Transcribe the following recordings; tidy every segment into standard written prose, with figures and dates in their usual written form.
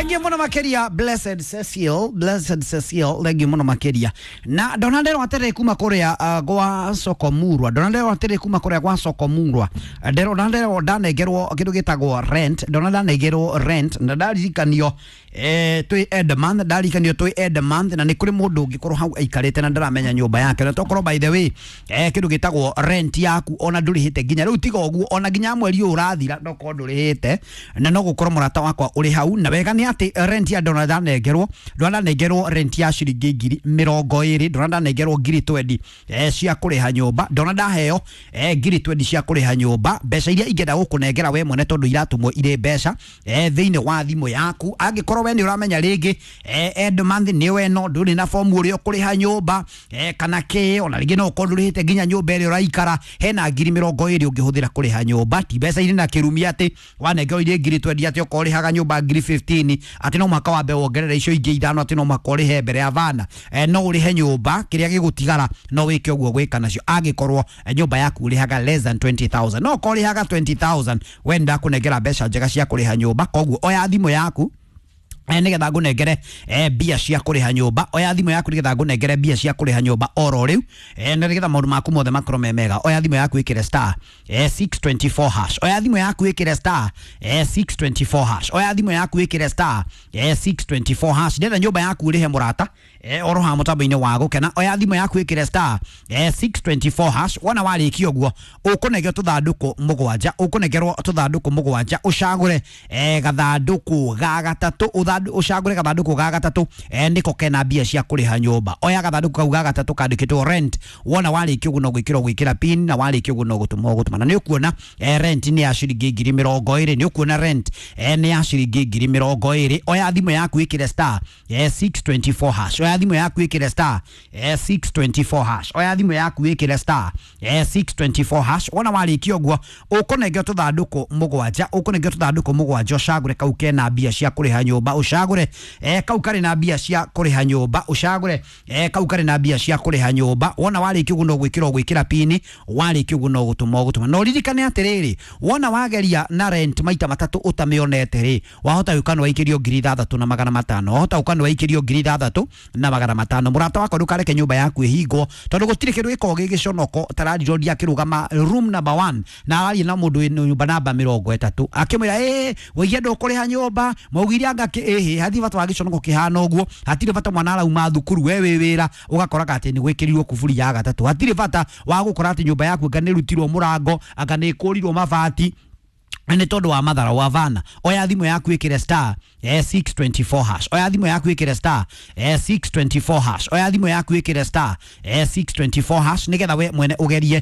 Thengiũ mũno makĩria Blessed Cecil, Blessed Cecil, thengiũ mũno makĩria. Na ndona nderwo atĩrĩ kuma kũrĩa gwa Sokomurwa, ndona nderwo atĩrĩ kuma kũrĩa gwa Sokomurwa, ndona nderwo ndanengerwo kĩndũ gĩtagwo rent, ndona ndanengerwo rent na ndaririkanio twĩ end month, ndaririkanio twĩ end month, na nĩ kũrĩ mũndũ ũngĩkorwo hau aikarĩte na ndaramenya nyũmba yake, na tokorwo by the way kĩndũ gĩtagwo rent yaku ona ndũrĩhĩte nginya rĩu, tiga ũguo ona nginya mweri ũyũ ũrathira nokorwo ndũrĩhĩte, na no gũkorwo mũrata wakwa ũrĩ hau. Na wega nĩ atĩ rent ya ndona ndanengerwo, ndona ndanengerwo rent ya ciringi 20,000, ndona ndanengerwo 20,000 cia kũrĩha nyũmba, ndona ndaheo 20,000 cia kũrĩha nyũmba, mbeca iria ingĩenda gũkũnengera we mwene tondũ iratũmwo irĩ mbeca thĩinĩ wa thimũ yaku. Angĩkorwo we nĩ ũramenya rĩngĩ end month nĩ we no ndũrĩ na fomu ũrĩa ũkũrĩha nyũmba kana kĩ, ona rĩngĩ no ũkorwo ndũrĩhĩte nginya nyũmba ĩrĩa ũraikara, hena 20,000 ũngĩhũthĩra kũrĩha nyũmba. Ti mbeca irĩ na kĩrumi atĩ wanengerwo irĩ 20,000 atĩ okorwo ũrĩhaga nyũmba 15,000 atĩ no mũhaka wambe wongerere icio ingĩ 5 atĩ no mũhaka ũrĩhe mbere ya vana. No ũrĩhe nyũmba kĩrĩa gĩgũtigara no wĩke ũguo gwĩka nacio, angĩkorwo nyũmba yaku ũrĩhaga less than 20,000. No okorwo ũrĩhaga 20,000, we ndakũnengera mbeca njega cia kũrĩha nyũmba. Koguo oya thimũ yaku nigetha ngũnengere mbia cia kũrĩha nyũmba. Oya thimũ yaku nigetha ngũnengere mbia cia kũrĩha nyũmba oro rĩu, na nigetha maũndũ maku mothe makorwo me mega. Oya thimũ yaku ĩkĩre star 624 hash. Oya thimũ yaku ĩkĩre star 624 hash. Oya thimũ yaku ĩkĩre star 624 hash. Ndĩrenda nyũmba yaku ũrĩhe mũrata oro haha mũtambo-inĩ wa gũkena. Oya thimũ yaku ĩkĩre star 624 hash. Wona warĩkia ũguo ũkũnengerwo tũthandũkũ mũgwanja, ũkũnengerwo tũthandũkũ mũgwanja, ũcagũre gathandũkũ ga gatatũ, ũcagũre gathandũkũ ga gatatũ nĩko kena mbia cia kũrĩha nyũmba. Oya gathandũkũ kau ga gatatũ kandĩkĩtwo rent. Wona warĩkia ũguo no gwĩkĩra ũgwĩkĩra pin, na warĩkia ũguo no gũtũma ũgũtũma, na nĩ ũkuona rent nĩ ya ciringi 20,000. Nĩ ũkuona rent nĩ ya ciringi 20,000. Oya thimũ yaku ĩkĩre star 624 hash. Oya thimũ yaku ĩkĩre star 624 hash. Oya thimũ yaku ĩkĩre star 624 hash. Wona warĩkia ũguo ũkũnengerwo tũthandũkũ mũgwanja, ũkũnengerwo tũthandũkũ mũgwanja, ũcagũre kau kena mbia cia kũrĩha nyũmba, ũcagũre kau karĩ na mbia cia kũrĩha nyũmba, ũcagũre kau karĩ na mbia cia kũrĩha nyũmba. Wona warĩkia ũguo no gwĩkĩra ũgwĩkĩra pini, warĩkia ũguo no gũtũma ũgũtũma. Na ũririkane atĩrĩrĩ, wona wageria na rent maita matatũ ũtamĩonete rĩ, wahota gũka nĩ waikĩrio 6,500, wahota gũka nĩ waikĩrio 6,500. Mũrata wakwa, ndũkareke nyũmba yaku ĩhingwo, tondũ gũtirĩ kĩndũ gĩkoragwo gĩ gĩconoko ta landlord akĩrũgama room number 1 na araria na mũndũ wĩ nyũmba namba 30 akĩmwĩra ĩ wĩigie ndũkũrĩha nyũmba, maugire anga ĩhĩ hatirĩ bata wa gĩconoko kĩhana ũguo, hatirĩ bata mwana arauma thukuru we wĩ wĩra ũgakoraga atĩ nĩ gwĩkĩrirwo kuburi ya gatatũ, hatirĩ bata wa gũkora atĩ nyũmba yaku anga nĩ ĩrutirwo mũrango, anga nĩ ĩkũrirwo mabati nĩ tondũ wa mathara wa vana. Oya thimũ yaku ĩkĩre star 624 hash. Oya thimũ yaku ĩkĩre star 624 hash. Oya thimũ yaku ĩkĩre star 624 hash nigetha we mwene ũgerie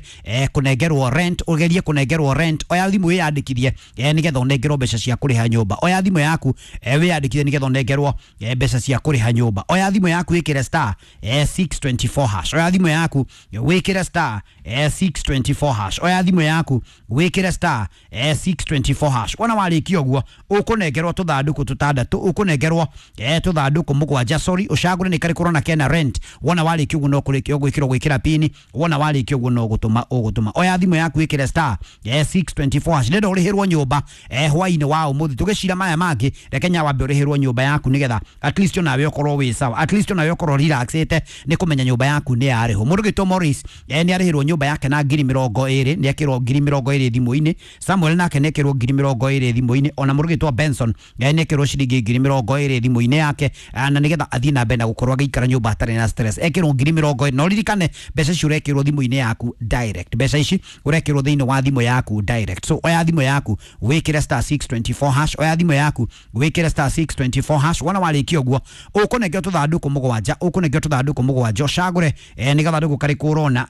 kũnengerwo rent, ũgerie kũnengerwo rent. Oya thimũ wĩyandĩkithie nigetha ũnengerwo mbeca cia kũrĩha nyũmba. Oya thimũ yaku wĩyandĩkithie nigetha ũnengerwo mbeca cia kũrĩha nyũmba. Oya thimũ yaku ĩkĩre star 624 hash. Oya thimũ yaku wĩkĩre star 624 hash. Oya thimũ yaku wĩkĩre star 624 hash. Wona warĩkia ũguo ũkũnengerwo tũthandũkũ tũtandatũ, ũkũnengerwo tũthandũkũ mũgwanja, sorry, ũcagũre nĩ karĩkũ ũrona kena rent. Wona warĩkia ũguo no kũrĩkia ũgwĩkĩra ũgwĩkĩra pini, wona warĩkia ũguo no gũtũma ũgũtũma. Oya thimũ yaku ĩkĩre star 624 hash. Ndĩrenda ũrĩhĩrwo nyũmba hwainĩ wa ũmũthĩ, tũgĩcira maya mangĩ, reke nya wambe ũrĩhĩrwo nyũmba yaku nigetha at least onawe ũkorwo wĩ sawa, at least onawe ũkorwo relaxĩte nĩ kũmenya nyũmba yaku nĩ yarĩhwo. Mũndũ gĩtwo Morris nĩ arĩhĩrwo nyũmba yake na 20,000, nĩ ekĩrwo 20,000 thimũ-inĩ. Samuel nake nĩ ekĩrwo 20,000 thimũ-inĩ. Ona mũndũ gĩtwo Benson nĩ ekĩrwo ciringi 20,000 thimũ-inĩ yake, na nĩgetha athiĩ na mbere na gũkorwo agĩikara nyũmba atarĩ na stress. Ekĩrwo 20,000. Na ũririkane mbeca ici ũrekĩrwo thimũ-inĩ yaku direct, mbeca ici ũrekĩrwo thĩinĩ wa thimũ yaku direct. So oya thimũ yaku wĩkĩre star 624 hash. Oya thimũ yaku wĩkĩre star 624 hash. Wona warĩkia ũguo ũkũnengerwo tũthandũkũ mũgwanja, ũkũnengerwo tũthandũkũ mũgwanja, ũcagũre nĩ gathandũkũ karĩkũ ũrona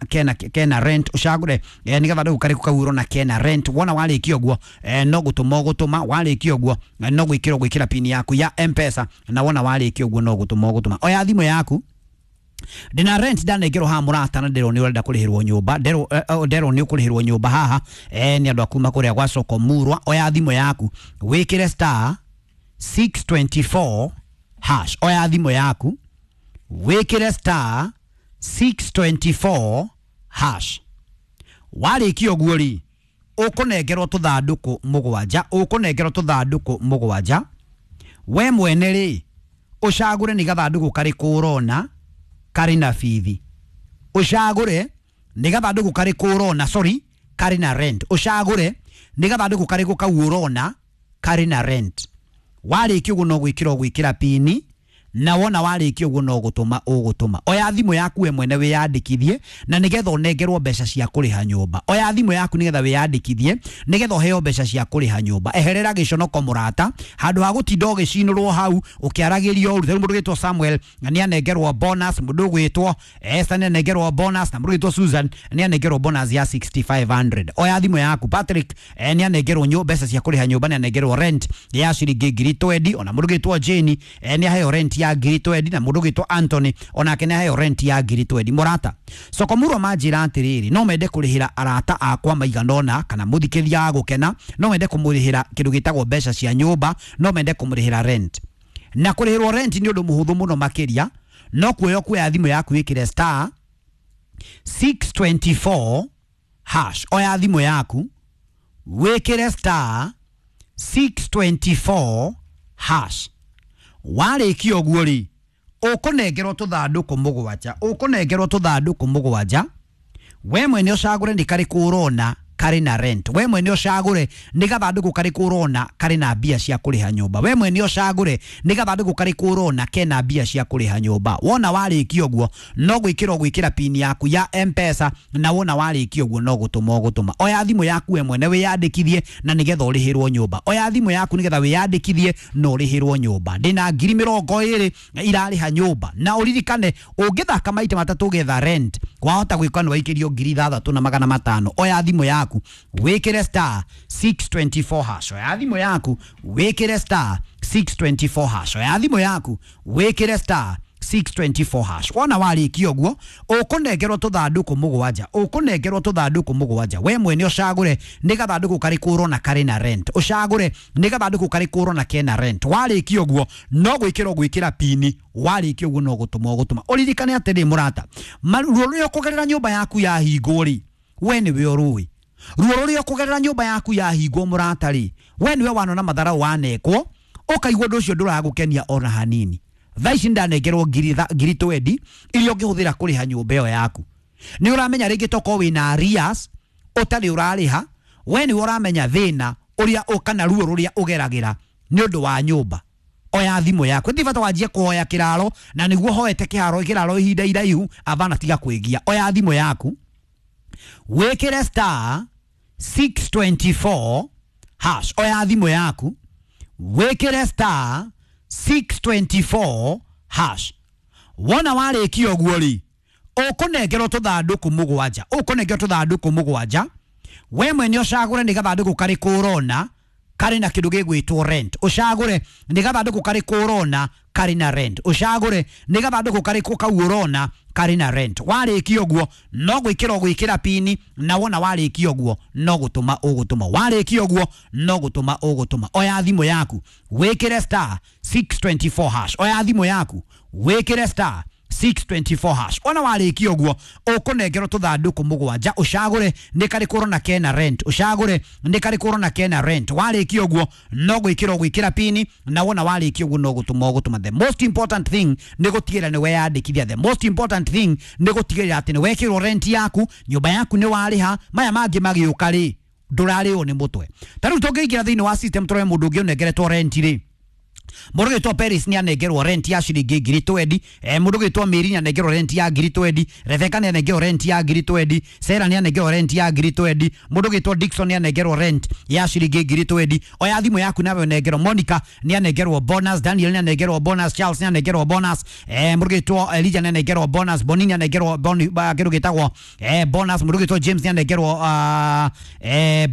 kena rent, ũcagũre nĩ gathandũkũ karĩkũ kau ũrona kena rent. Wona warĩkia ũguo no gũtũma ũgũtũma, warĩkia ũguo no gwĩkĩra ũgwĩkĩra pini yaku ya M-Pesa, na wona warĩkia ũguo no gũtũma ũgũtũma. Oya thimũ yaku, ndina rent ndanengerwo haha mũrata, na nderwo nĩ ũrenda kũrĩhĩrwo nyũmba, nderwo nĩ ũkũrĩhĩrwo nyũmba haha nĩ andũ a kuma kũrĩa gwa Soko Murwa. Oya thimũ yaku wĩkĩre star 624 hash. Oya thimũ yaku wĩkĩre star 624 hash. Warĩkia ũguo rĩ, ũkũnengerwo tũthandũkũ mũgwanja, ũkũnengerwo tũthandũkũ mũgwanja. We mwene rĩ, ũcagũre nĩ gathandũkũ karĩkũ ũrona karĩ na bithi. Ũcagũre nĩ gathandũkũ karĩkũ ũrona, sorry, karĩ na rent. Ũcagũre nĩ gathandũkũ karĩkũ kau ũrona karĩ na rent. Warĩkia ũguo no gwĩkĩra ũgwĩkĩra pini, na wona warĩkia ũguo no gũtũma ũgũtũma. Oya thimũ yaku we mwene wĩyandĩkithie na nĩgetha ũnengerwo mbeca cia kũrĩha nyũmba. Oya thimũ yaku nĩgetha wĩyandĩkithie nĩgetha ũheo mbeca cia kũrĩha nyũmba. Eherera gĩconoko mũrata, handũ ha gũtinda ũgĩcinũrwo hau ũkĩaragĩrio ũru. Rĩu mũndũ ũgwĩtwo Samuel nĩ anengerwo bonus, mũndũ ũgwĩtwo Esther nĩ anengerwo bonus, na mũndũ ũgwĩtwo Susan nĩ anengerwo bonus ya 6500. Oya thimũ yaku. Patrick nĩ anengerwo mbeca cia kũrĩha nyũmba, nĩ anengerwo rent ya ciringi 20,000. Ona mũndũ ũgwĩtwo Jane nĩ aheo rent ya 20,000, na mũndũ ũgwĩtwo Anthony onake nĩ aheo rent ya 20,000. Mũrata, Sokomurwa manjĩra atĩrĩrĩ, no mende kũrĩhĩra arata akwa maigana ũna, kana mũthikĩria wa gũkena, no mende kũmũrĩhĩra kĩndũ gĩtagwo mbeca cia nyũmba, no mende kũmũrĩhĩra rent. Na kũrĩhĩrwo rent nĩ ũndũ mũhũthũ mũno makĩria, no kuoya kuoya thimũ yaku wĩkĩre star 624 hash. Oya thimũ yaku wĩkĩre star 624 hash. Warĩkia ũguo rĩ, ũkũnengerwo tũthandũkũ mũgwanja, ũkũnengerwo tũthandũkũ mũgwanja. We mwene ũcagũre nĩ karĩkũ ũrona karĩ na rent. We mwene ũcagũre nĩ gathandũkũ karĩkũ ũrona karĩ na mbia cia kũrĩha nyũmba. We mwene ũcagũre nĩ gathandũkũ karĩkũ ũrona kena mbia cia kũrĩha nyũmba. Wona warĩkia ũguo no gwĩkĩra ũgwĩkĩra pin yaku ya M-Pesa, na wona warĩkia ũguo no gũtũma ũgũtũma. Oya thimũ yaku we mwene wĩyandĩkithie na nĩgetha ũrĩhĩrwo nyũmba. Oya thimũ yaku nĩgetha wĩyandĩkithie na ũrĩhĩrwo nyũmba. Ndĩna 20,000 irarĩha nyũmba, na ũririkane ũngĩthaka maita matatũ ũgetha rent, wahota gwĩka nĩ waikĩrio 6,500. Oya thimũ yaku wĩkĩre star 624 hash. Oya thimũ yaku wĩkĩre star 624 hash. Oya thimũ yaku wĩkĩre star 624 hash. Wona warĩkia ũguo ũkũnengerwo tũthandũkũ mũgwanja, ũkũnengerwo tũthandũkũ mũgwanja. We mwene ũcagũre nĩ gathandũkũ karĩkũ ũrona karĩ na rent, ũcagũre nĩ gathandũkũ karĩkũ ũrona kena rent. Warĩkia ũguo no gwĩkĩra ũgwĩkĩra pini, warĩkia ũguo no gũtũma ũgũtũma. Ũririkane atĩrĩ mũrata, ruo rũrĩa ũkũgerera nyũmba yaku yahingwo rĩ, we nĩwe ũrũĩ. Ruo rũrĩa ũkũgerera nyũmba yaku yahingwo mũrata rĩ, we nĩwe wanona matharau wanekwo, ũkaigua ũndũ ũcio ndũragũkenia ona hanini. Thaa ici ndanengerwo 20,000 iria ũngĩhũthĩra kũrĩha nyũmba ĩyo yaku. Nĩ ũramenya rĩngĩ tokorwo wĩna arrears ũtarĩ ũrarĩha, we nĩwe ũramenya thĩna ũrĩa kana ruo rũrĩa ũgeragĩra nĩ ũndũ wa nyũmba. Oya thimũ yaku, ti bata wanjie kũhoya kĩraro, na nĩguo hoete kĩraro ihinda iraihu, abana tiga kwĩgia. Oya thimũ yaku wĩkĩre star 624 hash. Oya thimũ yaku wĩkĩre star 624 hash. Wona warĩkia ũguo rĩ, ũkũnengerwo tũthandũkũ mũgwanja, ũkũnengerwo tũthandũkũ mũgwanja. We mwene ũcagũre nĩ gathandũkũ karĩkũ ũrona karĩ na kĩndũ gĩgwĩtwo rent. Ũcagũre nĩ gathandũkũ karĩkũ ũrona karĩ na rent. Ũcagũre nĩ gathandũkũ karĩkũ kau ũrona karĩ na rent. Warĩkia ũguo no gwĩkĩra ũgwĩkĩra pini, na wona warĩkia ũguo no gũtũma ũgũtũma. Warĩkia ũguo no gũtũma ũgũtũma. Oya thimũ yaku wĩkĩre star 624 hash. Oya thimũ yaku wĩkĩre star 624 hash. Ona warĩkia ũguo ũkũnengerwo tũthandũkũ mũgwanja, ũcagũre nĩ karĩkũ ũrona kena rent, ũcagũre nĩ karĩkũ ũrona kena rent. Warĩkia ũguo no gwĩkĩra ũgwĩkĩra pini, na wona warĩkia ũguo no gũtũma ũgũtũma. The most important thing nĩ gũtigĩrĩra nĩ weyandĩkithia. The most important thing nĩ gũtigĩrĩra atĩ nĩ wekĩrwo rent yaku, nyũmba yaku nĩ warĩha, maya mangĩ magĩũka rĩ ndũrarĩo nĩ mũtwe. Ta rĩu tũngĩingĩra thĩinĩ wa system tũrore mũndũ ũngĩ ũnengeretwo rent rĩ, mũndũ ũgwĩtwo Paris nĩ anengerwo rent ya ciringi 20,000, mũndũ ũgwĩtwo Mary nĩ anengerwo rent ya 20,000, Rebecca nĩ anengerwo rent ya 20,000, Sarah nĩ anengerwo rent ya 20,000, mũndũ ũgwĩtwo Dickson nĩ anengerwo rent ya ciringi 20,000. Oya thimũ yaku nawe ũnengerwo. Monica nĩ anengerwo bonus, Daniel nĩ anengerwo bonus, Charles nĩ anengerwo bonus, mũndũ ũgwĩtwo Elijah nĩ anengerwo bonus, Boni nĩ anengerwo kĩndũ gĩtagwo bonus, mũndũ ũgwĩtwo James nĩ anengerwo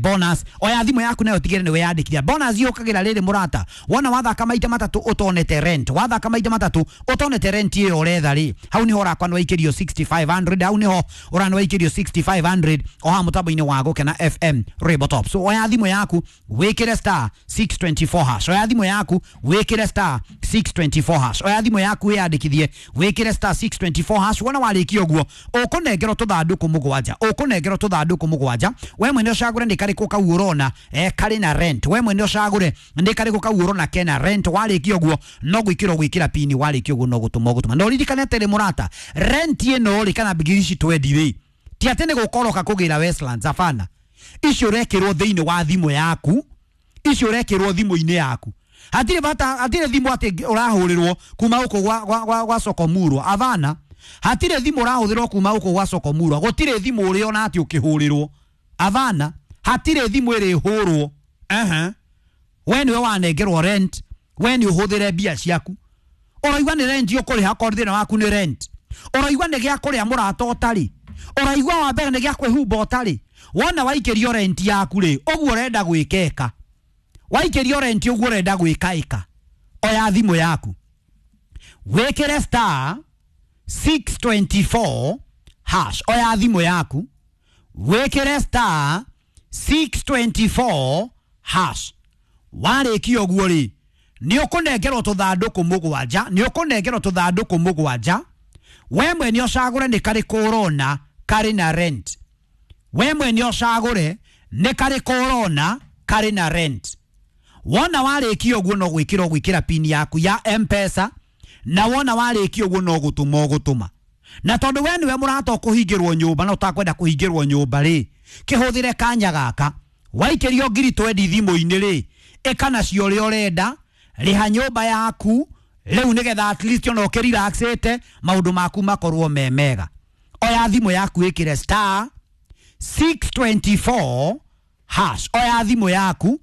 bonus. Oya thimũ yaku nayo ũtigĩrĩre nĩ weyandĩkithia. Bonus yũkagĩra rĩrĩ mũrata, wona wathaka maita matatũ ũtonete rent, wathaka maita matatũ ũtonete rent ĩyo ũretha rĩ, hau nĩho ũrakwa nĩ waikĩrio 6500, hau nĩho ũranĩ waikĩrio 6500 o haha mũtambo-inĩ wa Gũkena FM Rainbow Top. So oya thimũ yaku wĩkĩre star 624 hash. Oya thimũ yaku wĩkĩre star 624 hash. Oya thimũ yaku wĩyandĩkithie wĩkĩre star 624 hash. Wona warĩkia ũguo ũkũnengerwo tũthandũkũ mũgwanja, ũkũnengerwo tũthandũkũ mũgwanja. We mwene ũcagũre nĩ karĩkũ kau ũrona karĩ na rent. We mwene ũcagũre nĩ karĩkũ kau ũrona kena rent. Warĩkia ũguo no gwĩkĩra ũgwĩkĩra pini, warĩkia ũguo no gũtũma ũgũtũma. Na ũririkane atĩrĩ mũrata, rent ĩno rĩ kana ngiri ici twendi rĩ, ti atĩ nĩ gũkoroka kũgĩra Westlands, hapana. Icio ũrekĩrwo thĩinĩ wa thimũ yaku, icio ũrekĩrwo thimũ-inĩ yaku. Hatirĩ bata, hatirĩ thimũ atĩ ũrahũrĩrwo kuma gũkũ gwa Sokomurwa, avana. Hatirĩ thimũ ũrahũthĩrwo kuma gũkũ gwa Sokomurwa, gũtirĩ thimũ ũrĩona atĩ ũkĩhũrĩrwo, avana. Hatirĩ thimũ ĩrĩhũrwo. Ehe, we nĩwe wanengerwo rent, we nĩ ũhũthĩre mbia ciaku. Ũraigua nĩ rent ũkũrĩha, korwo thĩna waku nĩ rent. Ũraigua nĩ gĩa kũrĩa mũrata ũtarĩ, ũraigua wa mbere nĩ gĩa kwĩhumba ũtarĩ. Wona waikĩrio rent yaku rĩ, ũguo ũrenda gwĩkeka, waikĩrio rent ũguo ũrenda gwĩka ĩka, oya thimũ yaku wĩkĩre star 624 hash. Oya thimũ yaku wĩkĩre star 624 hash. Warĩkia ũguo rĩ, nĩ ũkũnengerwo tũthandũkũ mũgwanja, nĩ ũkũnengerwo tũthandũkũ mũgwanja. We mwene ũcagũre nĩ karĩkũ ũrona karĩ na rent. We mwene ũcagũre nĩ karĩkũ ũrona karĩ na rent. Wona warĩkia ũguo no gwĩkĩra ũgwĩkĩra pini yaku ya M-Pesa, na wona warĩkia ũguo no gũtũma ũgũtũma. Na tondũ we nĩwe mũrata ũkũhingĩrwo nyũmba na ũtakwenda kũhingĩrwo nyũmba rĩ, kĩhũthĩre kanya gaka. Waikĩrio ngiri twendi thimũ-inĩ rĩ, ĩka nacio ũrĩa ũrenda, rĩha nyũmba yaku rĩu nĩgetha at least ona ũkĩrelaxĩte maũndũ maku makorwo me mega. Oya thimũ yaku ĩkĩre star 624 hash. Oya thimũ yaku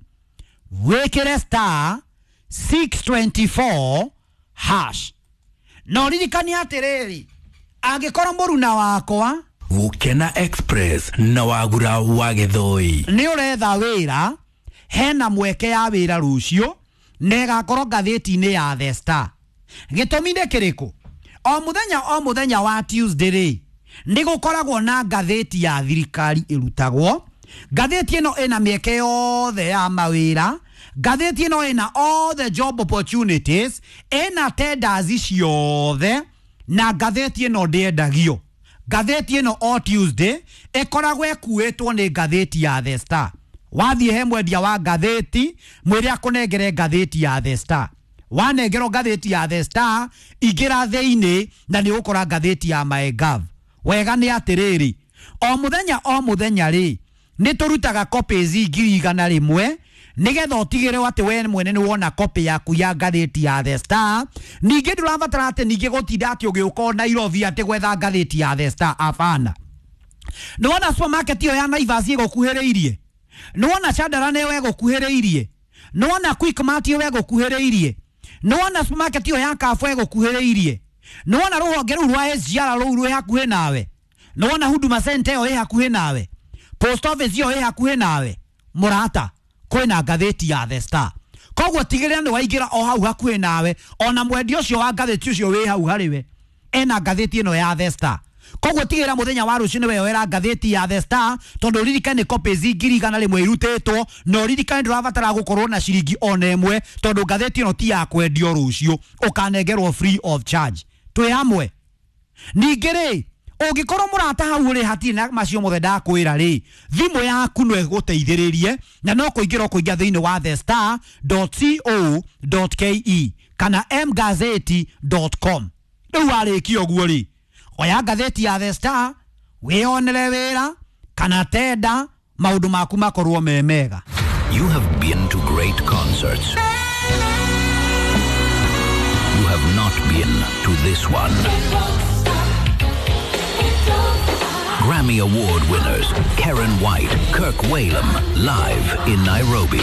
wĩkĩre star 624 hash. Na ũririkane atĩrĩrĩ, angĩkorwo mũruna wakwa Gukena Express na Wagura wa Gĩthũi nĩ ũretha wĩra, hena mweke ya wĩra rũciũ na ĩgakorwo ngathĩti-inĩ ya The Star. Gĩtũmi nĩ kĩrĩkũ? O mũthenya o mũthenya wa Tuesday rĩ, nĩ gũkoragwo na ngathĩti ya thirikari ĩrutagwo. Ngathĩti ĩno ĩna mĩeke yothe ya mawĩra, ngathĩti ĩno ĩna all the job opportunities, ĩna tenders ciothe, na ngathĩti ĩno ndĩendagio. Ngathĩti ĩno o Tuesday ĩkoragwo ĩkuĩtwo nĩ ngathĩti ya The Star. Wathiĩ he mwendia wa ngathĩti, mwĩre akũnengere ngathĩti ya The Star. Wanengerwo ngathĩti ya The Star, ingĩra thĩinĩ na nĩ ũgũkora ngathĩti ya MyGov. Wega nĩ atĩrĩrĩ, o mũthenya o mũthenya rĩ, nĩ tũrutaga copies 100,000 nĩgetha ũtigĩrĩrwo atĩ we mwene nĩ wona copy yaku ya ngathĩti ya The Star. Ningĩ ndũrabatara atĩ ningĩ gũtinda atĩ ũgĩũka Nairobi atĩ gwetha ngathĩti ya The Star, abana. Nĩ wona supermarket ĩyo ya Naivas ĩgũkuhĩrĩirie, nĩ wona Chandara nĩyo ĩgũkuhĩrĩirie, nĩ wona Quickmart ĩyo ĩgũkuhĩrĩirie, nĩ wona supermarket ĩyo ya Carrefour ĩgũkuhĩrĩirie, nĩ wona rũhonge rũu rwa SGR rũu rwĩ hakuhĩ nawe, nĩ wona Huduma Center ĩyo ĩ hakuhĩ nawe, post office ĩyo ĩ hakuhĩ nawe, mũrata, kwĩna ngathĩti ya The Star. Koguo tigĩrĩra nĩ waingĩra o hau hakuhĩ nawe, ona mwendia ũcio wa ngathĩti ũcio wĩ hau harĩ we ena ngathĩti ĩno ya The Star. Koguo tigĩrĩra mũthenya wa rũciũ nĩ weyoera ngathĩti ya The Star, tondũ ũririkane copies 100,000 irutĩtwo, na ũririkane ndũrabatara gũkorwo na ciringi ona ĩmwe, tondũ ngathĩti ĩno ti ya kwendio rũciũ, ũkanengerwo free of charge. Twĩ hamwe. Ningĩ rĩ, ũngĩkorwo mũrata hau ũrĩ hatirĩ na macio mothe ndakwĩra rĩ, thimũ yaku no ĩgũteithĩrĩrie na no kũingĩra ũkũingĩra thĩinĩ wa thestar.co.ke kana mgazeti.com. Rĩu warĩkia ũguo rĩ, oya ngathĩti ya The Star wĩyonere wĩra kana tenda, maũndũ maku makorwo me mega. You have been to great concerts. You have not been to this one. Grammy Award winners Karen White, Kirk Whalum, live in Nairobi.